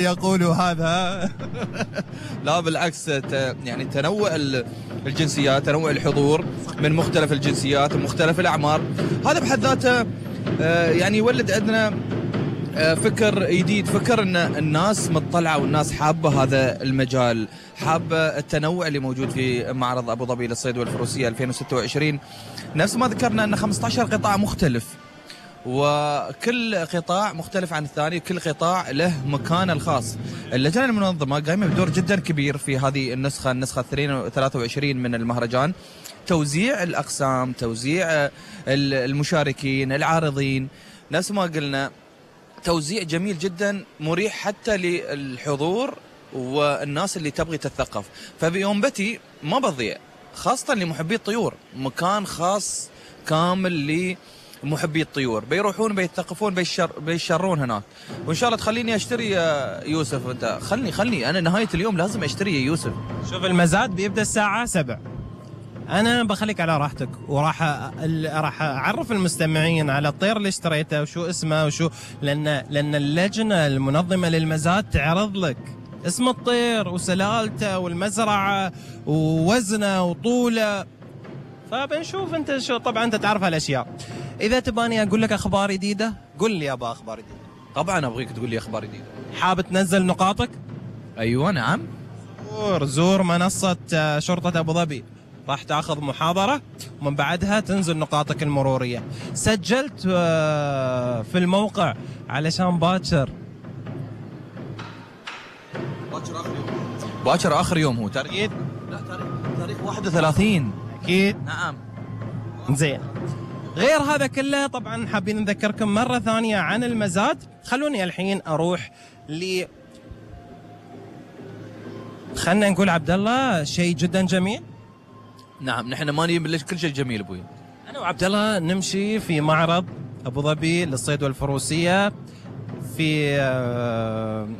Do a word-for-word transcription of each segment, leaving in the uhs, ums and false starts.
يقولوا هذا. لا بالعكس، يعني تنوع الجنسيات، تنوع الحضور من مختلف الجنسيات ومختلف الأعمار، هذا بحد ذاته يعني يولد عندنا فكر جديد، فكر ان الناس مطلعه والناس حابه هذا المجال، حابه التنوع اللي موجود في معرض ابو ظبي للصيد والفروسيه ألفين وستة وعشرين. نفس ما ذكرنا ان خمسة عشر قطاع مختلف، وكل قطاع مختلف عن الثاني، كل قطاع له مكانه الخاص. اللجنه المنظمه قايمه بدور جدا كبير في هذه النسخه النسخه ثلاثة وعشرين من المهرجان، توزيع الاقسام، توزيع المشاركين العارضين، نفس ما قلنا توزيع جميل جدا مريح حتى للحضور والناس اللي تبغي تتثقف. فبيوم بتي ما بضيع، خاصة لمحبي الطيور، مكان خاص كامل لمحبي الطيور، بيروحون بيتثقفون بيشر بيشرون هناك. وإن شاء الله تخليني أشتري يا يوسف، أنت خلني خلني أنا نهاية اليوم لازم أشتري يا يوسف. شوف المزاد بيبدأ الساعة سبع، أنا بخليك على راحتك، وراح راح أعرف المستمعين على الطير اللي اشتريته وشو اسمه وشو، لأن لأن اللجنة المنظمة للمزاد تعرض لك اسم الطير وسلالته والمزرعة ووزنه وطوله، فبنشوف أنت شو. طبعا أنت تعرف هالأشياء. إذا تباني أقول لك أخبار جديدة قل لي أبا أخبار جديدة. طبعا أبغيك تقول لي أخبار جديدة. حابب تنزل نقاطك؟ أيوة نعم. زور زور منصة شرطة أبو ظبي، راح تاخذ محاضرة ومن بعدها تنزل نقاطك المرورية. سجلت في الموقع علشان باكر باكر آخر يوم، باكر آخر يوم هو تاريخ، لا تاريخ تاريخ واحد وثلاثين أكيد. نعم زين. غير هذا كله طبعا حابين نذكركم مرة ثانية عن المزاد. خلوني الحين أروح ل خلنا نقول عبد الله شيء جدا جميل. نعم، نحن ما نجيب كل شيء جميل ابوي. انا وعبد الله نمشي في معرض ابو ظبي للصيد والفروسيه في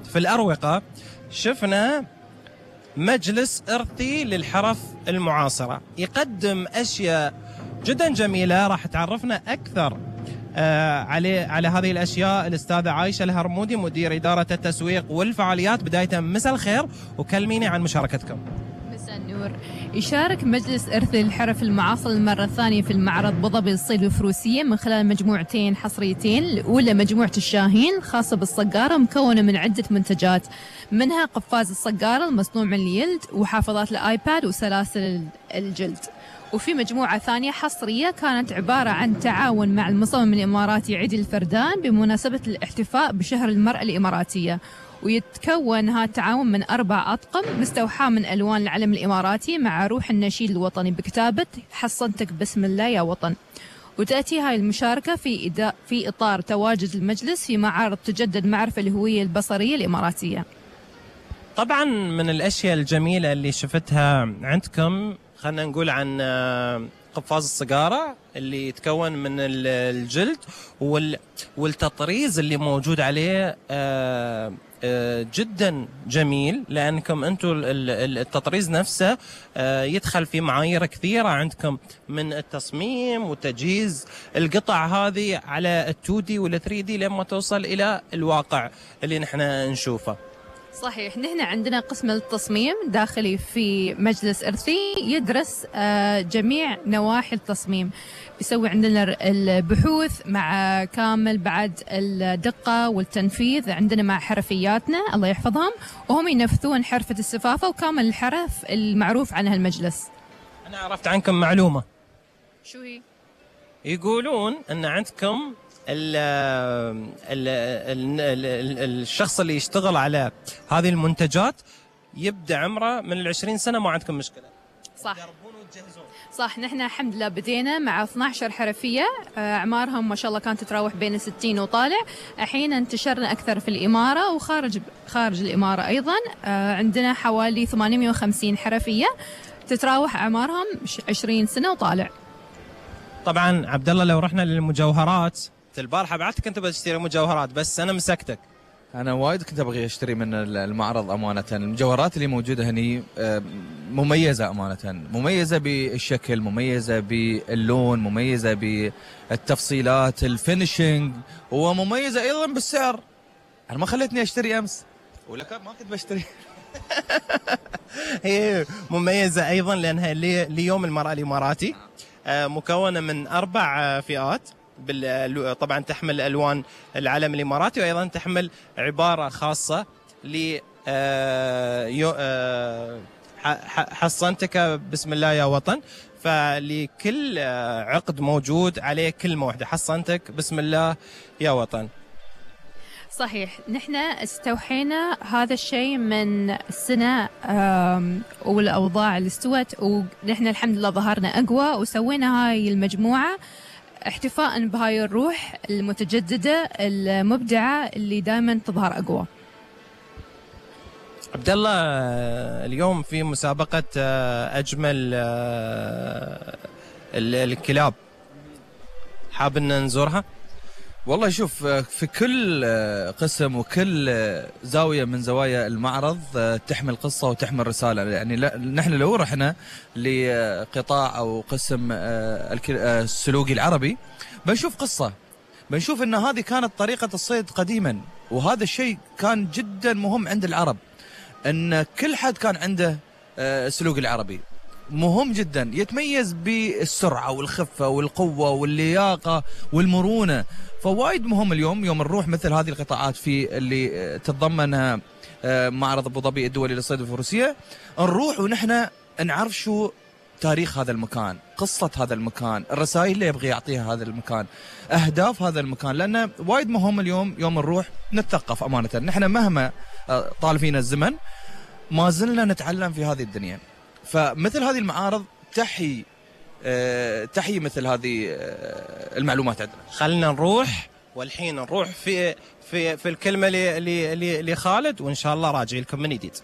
في الاروقه، شفنا مجلس ارثي للحرف المعاصره يقدم اشياء جدا جميله. راح تعرفنا اكثر على على هذه الاشياء الاستاذه عايشه الهرمودي، مدير اداره التسويق والفعاليات. بدايه مساء الخير وكلميني عن مشاركتكم. النور. يشارك مجلس إرث الحرف المعاصر المرة الثانية في المعرض أبو ظبي للصيد والفروسية من خلال مجموعتين حصريتين. الأولى مجموعة الشاهين خاصة بالصقارة، مكونة من عدة منتجات، منها قفاز الصقارة المصنوع من اليلد وحافظات الآيباد وسلاسل الجلد. وفي مجموعة ثانية حصرية كانت عبارة عن تعاون مع المصمم الإماراتي عيد الفردان بمناسبة الاحتفاء بشهر المرأة الإماراتية، ويتكون هذا التعاون من أربع أطقم مستوحاة من ألوان العلم الإماراتي مع روح النشيد الوطني بكتابة حصنتك بسم الله يا وطن. وتأتي هاي المشاركة في إداء في إطار تواجد المجلس في معارض تجدد معرفة الهوية البصرية الإماراتية. طبعا من الأشياء الجميلة اللي شفتها عندكم، خلنا نقول عن قفاز الصقارة اللي يتكون من الجلد والتطريز اللي موجود عليه جدا جميل، لأنكم أنتم التطريز نفسه يدخل في معايير كثيرة عندكم من التصميم وتجهيز القطع هذه على التو دي والثري دي لما توصل إلى الواقع اللي نحن نشوفه. صحيح، نحن عندنا قسم التصميم داخلي في مجلس إرثي يدرس جميع نواحي التصميم، بيسوي عندنا البحوث مع كامل بعد الدقة والتنفيذ، عندنا مع حرفياتنا الله يحفظهم، وهم ينفذون حرفة السفافة وكامل الحرف المعروف عنها المجلس. أنا عرفت عنكم معلومة. شو هي؟ يقولون أن عندكم ال ال ال الشخص اللي يشتغل على هذه المنتجات يبدأ عمره من العشرين سنة، ما عندكم مشكلة. صح. صح، نحن الحمد لله بدينا مع اثنتي عشرة حرفية، أعمارهم ما شاء الله كانت تتراوح بين ستين وطالع. الحين انتشرنا أكثر في الإمارة وخارج خارج الإمارة أيضا. عندنا حوالي ثمانمئة وخمسين حرفية تتراوح أعمارهم عشرين سنة وطالع. طبعا عبد الله لو رحنا للمجوهرات، البارحة بعتك أنت بتشتري مجوهرات بس أنا مسكتك. أنا وايد كنت أبغي أشتري من المعرض أمانة. المجوهرات اللي موجودة هني مميزة أمانة، مميزة بالشكل، مميزة باللون، مميزة بالتفصيلات الفينيشنج، ومميزة أيضا بالسعر. أنا ما خلتني أشتري أمس ولا كان ما كنت بشتري. هي مميزة أيضا لأنها لي- ليوم المرأة الإماراتي، آه، مكونة من أربع آه، فئات. بال- طبعا تحمل ألوان العلم الإماراتي، وأيضا تحمل عبارة خاصة ل آه، يو- آه، ح- ح- حصنتك بسم الله يا وطن. فلكل آه، عقد موجود عليه كلمة واحدة، حصنتك بسم الله يا وطن. صحيح، نحن استوحينا هذا الشيء من السنة آم، والأوضاع اللي استوت، ونحن الحمد لله ظهرنا أقوى وسوينا هاي المجموعة احتفاء بهاي الروح المتجددة المبدعة اللي دائما تظهر أقوى. عبد الله، آه، اليوم في مسابقة آه، أجمل آه، ال- الكلاب، حاب أن نزورها؟ والله شوف، في كل قسم وكل زاوية من زوايا المعرض تحمل قصة وتحمل رسالة. يعني لا- نحن لو رحنا لقطاع أو قسم الك- السلوقي العربي بنشوف قصة، بنشوف أن هذه كانت طريقة الصيد قديما، وهذا الشيء كان جدا مهم عند العرب، أن كل حد كان عنده السلوق العربي مهم جدا، يتميز بالسرعة والخفة والقوة واللياقة والمرونة. فوايد مهم اليوم يوم نروح مثل هذه القطاعات في اللي تتضمنها معرض أبو ظبي الدولي للصيد والفروسية، نروح ونحن نعرف شو تاريخ هذا المكان، قصة هذا المكان، الرسائل اللي يبغي يعطيها هذا المكان، أهداف هذا المكان. لأنه وايد مهم اليوم يوم نروح نتثقف أمانة. نحن مهما طال فينا الزمن ما زلنا نتعلم في هذه الدنيا. فمثل هذه المعارض تحيي أه تحيي مثل هذه أه المعلومات عندنا. خلنا نروح، والحين نروح في في في الكلمة ل- ل- ل- لخالد، وإن شاء الله راجع لكم من جديد.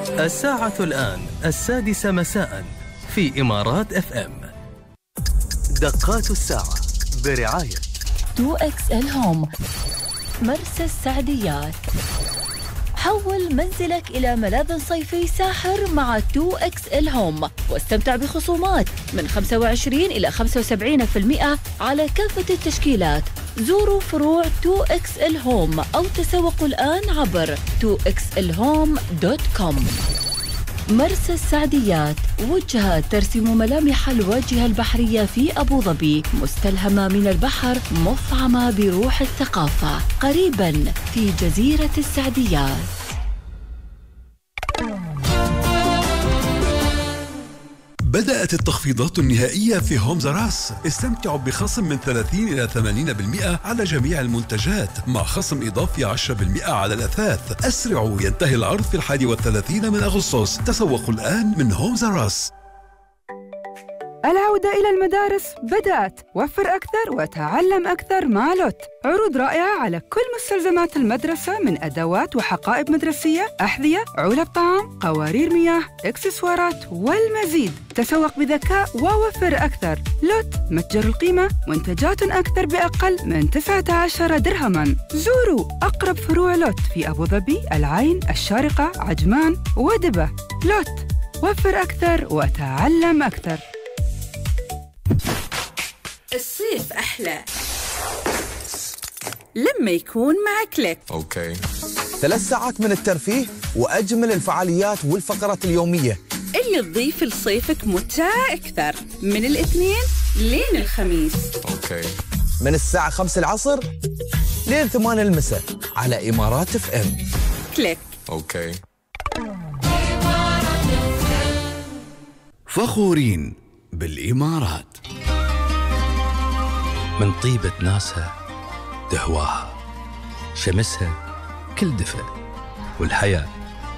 الساعة الآن السادسة مساء في إمارات اف ام. دقات الساعة برعاية تو إكس إل هوم، مرسى السعديات. حول منزلك إلى ملاذ صيفي ساحر مع تو إكس إل هوم، واستمتع بخصومات من خمسة وعشرين إلى خمسة وسبعين بالمئة على كافة التشكيلات. زوروا فروع تو إكس إل هوم أو تسوقوا الآن عبر تو إكس إل هوم دوت كوم. مرسى السعديات، وجهة ترسم ملامح الواجهة البحرية في أبو ظبي، مستلهمة من البحر، مفعمة بروح الثقافة، قريباً في جزيرة السعديات. بدأت التخفيضات النهائية في هومز راس. استمتعوا بخصم من ثلاثين إلى ثمانين بالمئة على جميع المنتجات، مع خصم إضافي عشرة بالمئة على الأثاث. أسرعوا، ينتهي العرض في الحادي والثلاثين من أغسطس. تسوقوا الآن من هومز راس. العودة إلى المدارس بدأت. وفر أكثر وتعلم أكثر مع لوت. عروض رائعة على كل مستلزمات المدرسة، من أدوات وحقائب مدرسية، أحذية، علب طعام، قوارير مياه، إكسسوارات والمزيد. تسوق بذكاء ووفر أكثر. لوت، متجر القيمة، منتجات أكثر بأقل من تسعة عشر درهماً. زوروا أقرب فروع لوت في أبو ظبي، العين، الشارقة، عجمان ودبة. لوت، وفر أكثر وتعلم أكثر. الصيف أحلى لما يكون مع كليك. أوكي. ثلاث ساعات من الترفيه وأجمل الفعاليات والفقرات اليومية اللي تضيف لصيفك متعة أكثر، من الاثنين لين الخميس. أوكي. من الساعة خمسة العصر لين ثمانية المساء على إمارات اف ام. كليك. أوكي. فخورين بالإمارات. من طيبة ناسها تهواها، شمسها كل دفء، والحياة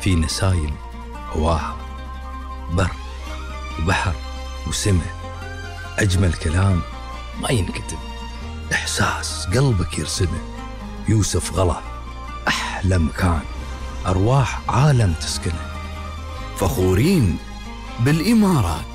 في نسايم هواها. بر وبحر وسماء، أجمل كلام ما ينكتب، إحساس قلبك يرسمه. يوسف غلا، أحلى مكان، أرواح عالم تسكنه. فخورين بالإمارات.